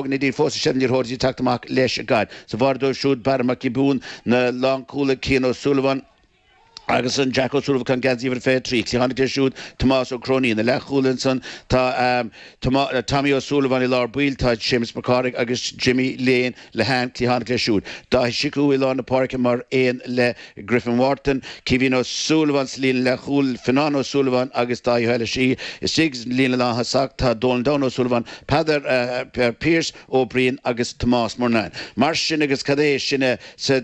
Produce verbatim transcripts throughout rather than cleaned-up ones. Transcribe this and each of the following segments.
Neidín fós sean liathróid teacht amach leis an gcaid. Sa bharr dóibh siúd Barra Mac Giobúin na lánchúlaithe Cian O'Sullivan agus an Jack O'Sullivan geansaí uimhir fiche trí. Cliathánaí leo siúd Tomás Ó Cróinín. Na leathchúlaithe ansan tá um, Tommy O'Sullivan i lár baill tá Seamus Mac Cárthaigh agus Jimmy Lane Lehane cliathánach leo siúd. Dáithí Siú i lár na páirce mar aon le Griffin Wharton, Kevin O'Sullivan sa líne leathchúil Finan O'Sullivan agus Dáithí Heile istigh líne lántosach tá Donald Down O'Sullivan, Peadar uh, Pierce O'Brien agus Tomás Murnane. Mar sin agus cad é sinne sa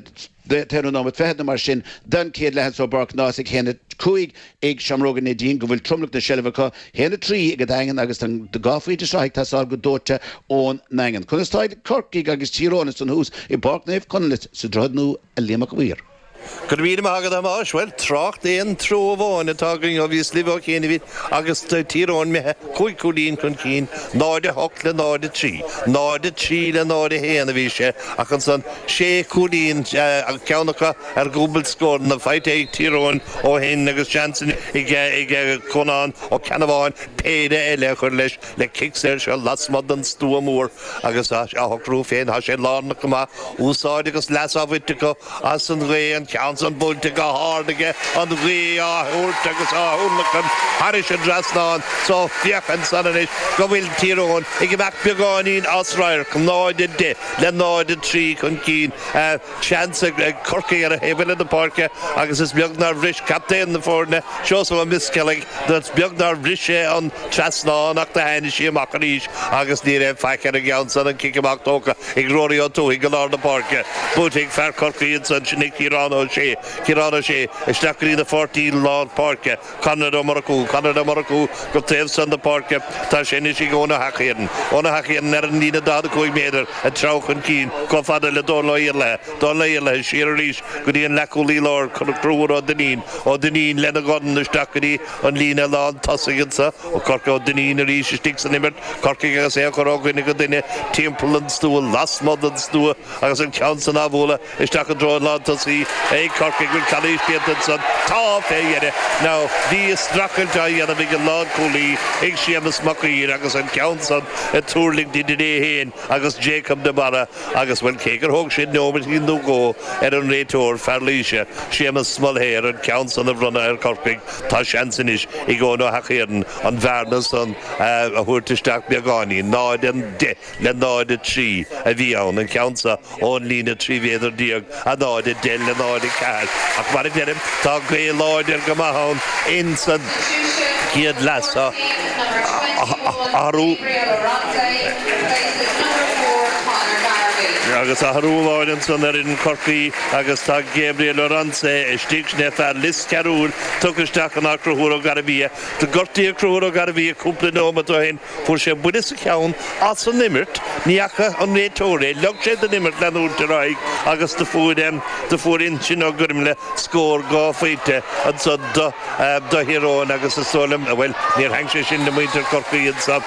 t-aon nóiméad fichead mar sin den chéad leath i bPáirc Náisiúnta haon a cúig ag Seamróga Neidín go bhfuil tromlach na seilbhe acu haon a trí ag an Daingean agus an dhá phointe seo ag teastáil go dóite ón nDaingean. Conas tá Corcaigh agus Tír Eoghain san thuas i bPáirc Naomh Conleth sa Droichead Nua a Liam Mac Uidhir. Go raibh míle maith agat a Thomáis, well trácht aon treo amháin atá againn ó bhíos libh ó chianaibh agus Tír Eoghain imithe cúig chúilín chun cinn, náid a hocht le náid a trí, náid a trí le náid a haon a bhí sé ach ansan sé chúilín ceann acu ar dhúbailt scóranna faighte ag Tír Eoghain ó shin agus seans ag ag Conán Ó Ceannabháin péire eile a chur leis le cic saor seo lasmuigh den stua mór agus a shocrú féin tá sé lárnach go maith úsáid agus leas á bhaint acu as an ghaoth an ceann san buailte go hard aige an ghaoth á thabhairt agus á thionlacan thairis an trasnán so féach ansan anois go bhfuil Tír Eoghain ag imeacht beagáinín as radharc náid a deich le náid a trí chun cinn seans ag Corcaigh ar an thaobh eile na páirce agus is beag nár bhris captaen na foirne Seosamh Ó Miscealaigh is beag nár bhris sé an trasnán ach do tháinig sí amach arís agus ní raibh faic ar an gceann san an cic amach tógtha ag Rory Ó Tuathaigh go lár na páirce. Buailte ag fear Chorcaí ansan sin é Ciarán Ó Sé Ciarán Ó Sé isteach go dtí na pháirtí lár páirce Conor Ó Murchú Conor Ó Murchú go taobh san na páirce tá sé anois ag Eoin Ó hEachaidh Eoin Ó hEachaidh ar an líne daichead a cúig méadar ag treabhadh chun cinn chomh fada le Dónal Ó Iarlaithe Dónal Ó Iarlaithe siar arís go dtí an leathchúlaí láir Conchúr Ó Duinnín Ó Duinnín lena dhorn isteach go dtí an líne lán tosaigh anso ó Corcaigh Ó Duinnín arís istigh san imirt Corcaigh agus é a chur ó dhuine go duine timpeall an stua lasmuigh den stua agus an ceann san á bhualadh isteach i dtreo an lán tosaí ag Corcaigh bhfuil calaois déanta ansan tá fé dheireadh now bhí streachailt á dhéanamh ag an lánchúlaí ag Séamus Mac Uidhir agus an ceann san ag tuirlingt idir é féin agus Jacob de Barra agus bhuel cé gur thóg sé nóiméidín nó dhó ar an réiteoir fear Laoise Séamus Mulhare an ceann san a bhronnadh ar Corcaigh tá seans anois ag Eoin Ó hEachaidh an bhearna san a thabhairt isteach beagáinín náid a deich le náid a trí a bhí ann an ceann seo ón líne trí mhéadar déag a náid a deich le náid a ceathair ach mar a deirim tá gaoth láidir go maith ann in san chéad leath seo athrú agus athrú amháin ansan ar fhoireann Chorcaí agus tá Gabriel Oronce istigh sin é fear Lios Cearúil tugtha isteach in áit Conchúr Ó Gairbhia. Do gortaíodh Conchúr Ó Gairbhia cúpla nóiméad ó shin. Fuair sé buille sa cheann as an imirt. Ní fhaca an réiteoir é. Leag sé don imirt leanúint ar aghaidh agus do fuair do fuair Uinseann Ó Gormlaith scór dhá phointe ansan do do Thír Eoghain agus is dóigh liom, bhuel, níor thaitin sé sin le muintir Chorcaí ansan.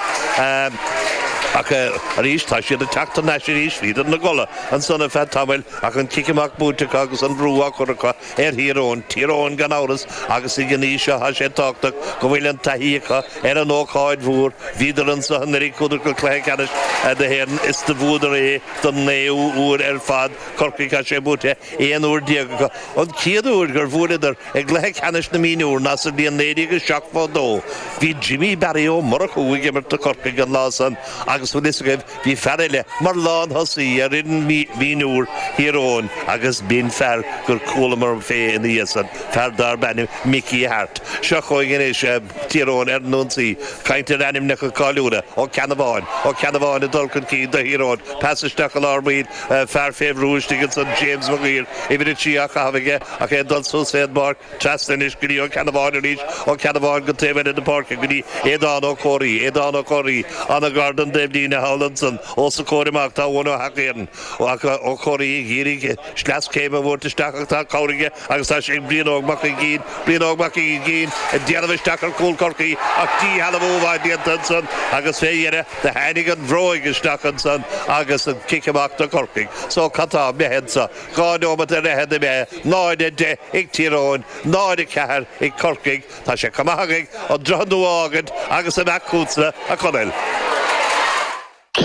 Ach arís, tá siad ag teacht thar n-ais arís, bhíodar ina gcodladh ansan ar feadh tamaill ach an cic amach buaite acu agus an brú á chur acu ar Thír Eoghain. Tír Eoghain gan amhras agus ag an aois seo tá sé tábhachtach go bhfuil an taithí acu ar an ócáid mhór. Bhíodar anso anuraidh, chuadar go cluiche ceannais na hÉireann is do bhuadar é don naoú huair ar fad. Corcaigh, tá sé buaite aon uair déag acu. An chéad uair gur bhuaileadar i gcluiche ceannais na mionúr ná sa bhliain naoi déag seachtó dó. Bhí Jimmy Barry Ó Murchú ag imirt do Chorcaigh an lá san agus bhfuil fhios agaibh bhí fear eile mar lán-thosaí ar fhoireann mhionúr Thír Eoghain agus b'in fear gur chualamar fé ina dhiaidh san, fear darb ainm Mickey Harte. Seo chugainn anois Tír Eoghain ar an ionsaí. Caint ar ainmneacha cáiliúla, Ó Ceannabháin, Ó Ceannabháin ag dul chun cinn do Thír Eoghain, pas isteach i lár baill, fear fé bhrú istigh ansan, James Maguire, uimhir a trí á chaitheamh aige ach é ag dul suas fén bpáirc, trasna anois go dtí Ó Ceannabháin arís, Ó Ceannabháin go taobh eile na páirce go dtí Aodán Ó Comhraí, Aodán Ó Comhraí, an-ghar don dtaobhlíne thall ansan, os a chomhair amach tá Eoin Ó hEachaidh, Ó Comhraí ag iarraidh sleaschéim a thabhairt isteach ach tá cabhair aige agus tá sé ag Brian Óg Mac Uiginn, Brian Óg Mac Uiginn ag déanamh isteach ar chúl Chorcaí ach díshealbhú mhaith déanta ansan agus fé dheireadh do tháinig an bhróig isteach ansan agus an cic amach do Chorcaigh. So cad tá imithe anso? Dhá neomat ar fhichead imithe, náid a deich ag Tír Eoghain, náid a ceathair ag Corcaigh. Tá sé chomh maith againn an Droichead Nua a fhágaint agus imeacht chugatsa, a Chonaill.